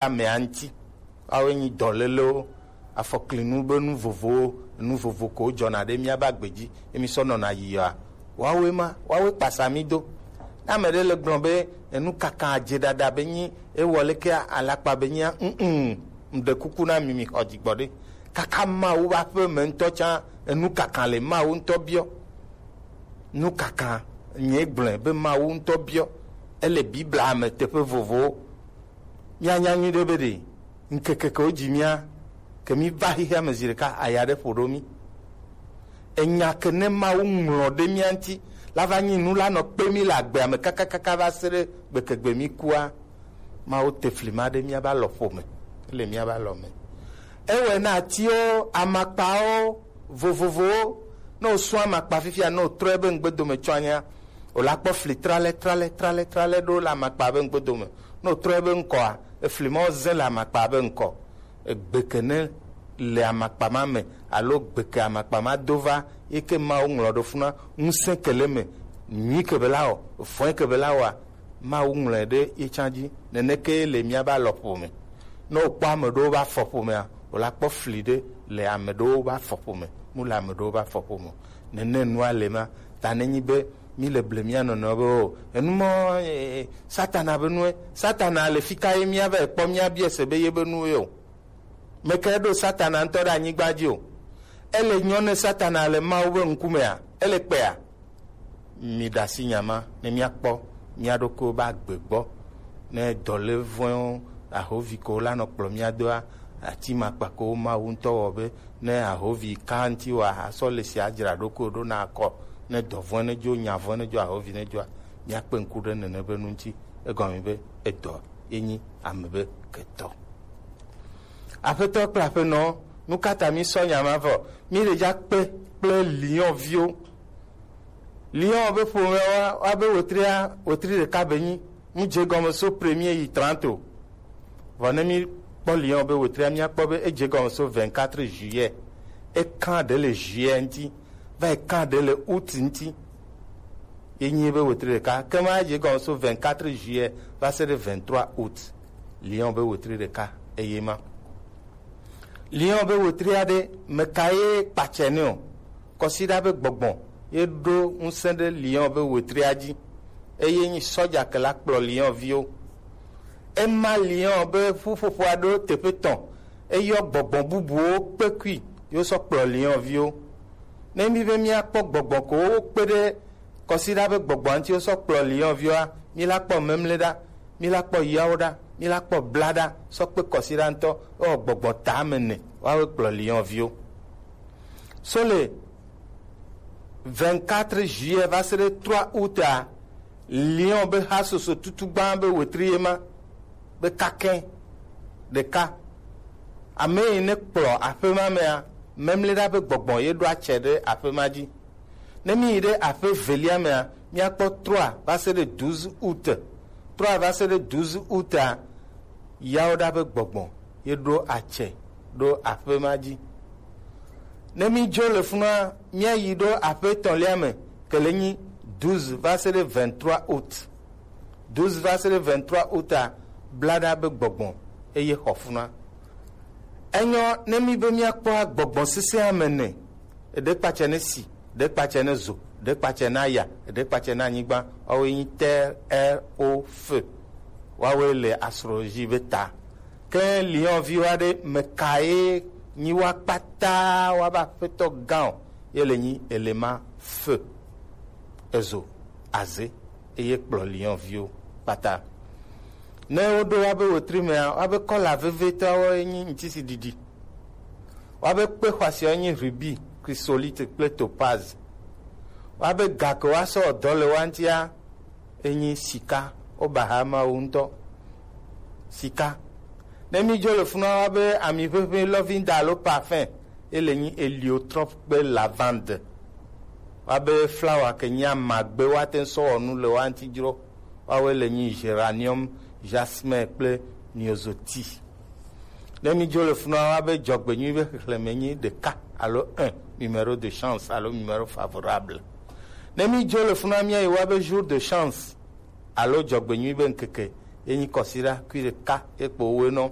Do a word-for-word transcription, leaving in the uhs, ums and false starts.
amea ŋuti. Woawoe nyi dɔlélewo, afɔklinu be nu vovowo, nu vovo ko wojɔna ɖe míabe agbe dzi, ye mísɔ nɔna yiyɔa. Woawoe ma, woawoe kpasa mí do. Ne ame ɖe le gblɔ be enu kaka adze ɖaɖa be nyi ewɔ leke alakpa be nyia, mm, mm, ŋɖe kuku na mi, mi xɔ dzigbɔ ɖe. Kaka Mawu ƒe aƒe me ŋutɔ tsã, enu kaka le Mawu ŋutɔ biɔ. Nu kaka, nye gblɔe be Mawu ŋutɔ biɔ. Ele Biblia me teƒe vovowo. Míanya nyuiɖe be ɖe ŋkeke ke wodzi mía, ke míva xexea me zi ɖeka, aya ɖe ƒo ɖo mí. Enya ke ne Mawu ŋlɔ ɖe mía ŋuti la va nyi nu la nɔ kpe mí le agbea me kakakaka va se ɖe gbekegbe mí kua. Mawu te fli ma ɖe míabe alɔƒo me, ele míabe alɔ me. Ewɔe na atiwo, amakpawo vovovowo. Ne wòsɔ amakpa fifia, ne wòtrɔ ebe ŋgbedome tsɔ anya, wòla kpɔ fli tralɛ, tralɛ, tralɛ, tralɛ ɖo le amakpa be ŋgbedome. Ne wòtrɔ ebe ŋkɔa, efli ma wozẽ le amakpa be ŋkɔ. Egbe ke ne le amakpa ma me, alo gbe ke amakpa ma do va, yi ke Mawu ŋlɔ ɖo funa, ŋusẽ ke le me, nyui ke be la wɔ, vɔ̃e ke be la wɔa, Mawu ŋlɔe ɖe ye tsã dzi. Neneke ye le míabe alɔƒo me. Ne wòkpɔ ame ɖewo be afɔƒomea, wòla kpɔ fli ɖe le ame ɖewo be afɔƒome, mu le ame ɖewo be afɔƒome o. Nene nua le ma. Ta nenyi be mí le ble mía nɔnɔewo be o, enu mɔ, eh, Satana be nue. Satana le fika ye mía va kpɔ mía biɛ se be ye be nu ye o. Meke ɖo Satana ŋutɔ ɖe anyigba dzi o. Ele nyɔ ne Satana le Mawu be ŋkumea, ele kpea. Mi ɖe asi nya ma ne míakpɔ mía ɖokuiwo be agbe gbɔ. Ne dɔlévɔ̃ewo, ahovi ko la nɔ kplɔ mía doa, ati makpa ko Mawu ŋutɔ wɔ be ne ahovi ka ŋuti wa, asɔ le sia dzra ɖokuiwo ɖo na akɔ. Ne dɔvɔ̃e ne dzo, nyavɔ̃e ne dzo, ahovi ne dzoa, míakpe ŋku ɖe nene be nu ŋuti. Egɔme be edɔ ye nyi ame be ketɔ. Aƒetɔ kple aƒenɔ, nu ka ta mísɔ nya ma vɔ? Mí le dza kpe kple Lion viwo. Lion be ƒomea wa, wa be wetria, wetri ɖeka be nyi. Mu dze gɔme so premier yi trente o. Vɔ ne mí kpɔ Lion be wetria, míakpɔ be edze gɔme so vingt-quatre juillet. Ekan ɖe le juillet ŋuti, va ekan ɖe le août ŋuti. Ye nyi be wetri ɖeka. Ke ma dze gɔme so vingt-quatre juillet va se ɖe vingt-trois août. Lion be wetri ɖeka eye ma. Lion be wetri aɖe, meka ye kpatsɛ nɛ o? Kɔsiɖa be gbɔgbɔ ye ɖo ŋusẽ ɖe Lion be wetria dzi, eye nyi sɔdza ke la kplɔ Lion viwo. Ema Lion be ƒuƒoƒo aɖewo teƒe tɔn, eyɔ gbɔgbɔ bubuwo kpekui, yewo sɔ kplɔ Lion viwo. Ne mí be míakpɔ gbɔgbɔ ko wokpe ɖe kɔsiɖa be gbɔgbɔ ŋuti wosɔ kplɔ Lion viwoa, míla kpɔ Memleɖa, míla kpɔ Yawoɖa, míla kpɔ Blaɖa, sɔ kpe kɔsiɖa ŋutɔ, ewɔ gbɔgbɔ ta ame ene, woawoe kplɔ Lion viwo. So le vingt-quatre juillet va se ɖe trois août a, Lion be hasoso tutu gbã be wetri ye ma, be kakɛ ɖeka. Ame yi ne kplɔ aƒe ma mea, Memleɖa be gbɔgbɔ ye ɖo atsɛ ɖe aƒe ma dzi. Ne mí yi ɖe aƒe velia mea, míakpɔ trois va se ɖe douze août. Trois va se ɖe douze août a, Yawoɖa be gbɔgbɔ ye ɖo atsɛ ɖo aƒe ma dzi. Ne mí dzo le funua, míayi ɖo aƒe etɔ̃lia me, ke le nyi douze va se ɖe vingt-trois août. Douze va se ɖe vingt-trois août a, Blaɖa be gbɔgbɔ eye xɔ funua. Enyɔ ne mí be míakpɔa gbɔgbɔ sesẽ ame ene. Eɖe kpatsɛ ne si, eɖe kpatsɛ ne zo, eɖe kpatsɛ ne aya, eɖe kpatsɛ ne anyigba. Woawoe nyi terre, air, eau, feu. Woawoe le astrologie be ta. Ke Lion viwo aɖe, meka ye nyi wa kpata, wa be aƒetɔ gã o, ye le nyi élément feu. Ezo, aze, eye kplɔ Lion viwo kpata. Ne woɖo wa be wetri mea, wa be kɔla vevietɔwo ye nyi ŋutisiɖiɖi. Woabe kpe xɔasiawo nyi rubis, chrysolite kple topaze. Woabe ga ke woasɔ dɔ le woa ŋutia enyi sika. Woba ha Mawu ŋutɔ. Sika. Ne mídzo le funua, woabe ami ʋeʋĩ lɔvinda alo parfum, ele nyi héliotrope kple lavande. Woabe flawa ke nyi amagbe woate ŋu sɔ wɔ nu le woa ŋuti dzro. Woawoe le nyi géranium, jasmin kple myosotis. Ne mídzo le funua, woabe dzɔgbenyui be xexlẽme nyi ɖeka alo un, numéro de chance alo numéro favorable. Ne mídzo le funua, míayi woabe jour de chance alo dzɔgbenyui be ŋkeke, Enyi kɔsiɖa kuiɖeka ekpo owenɔ.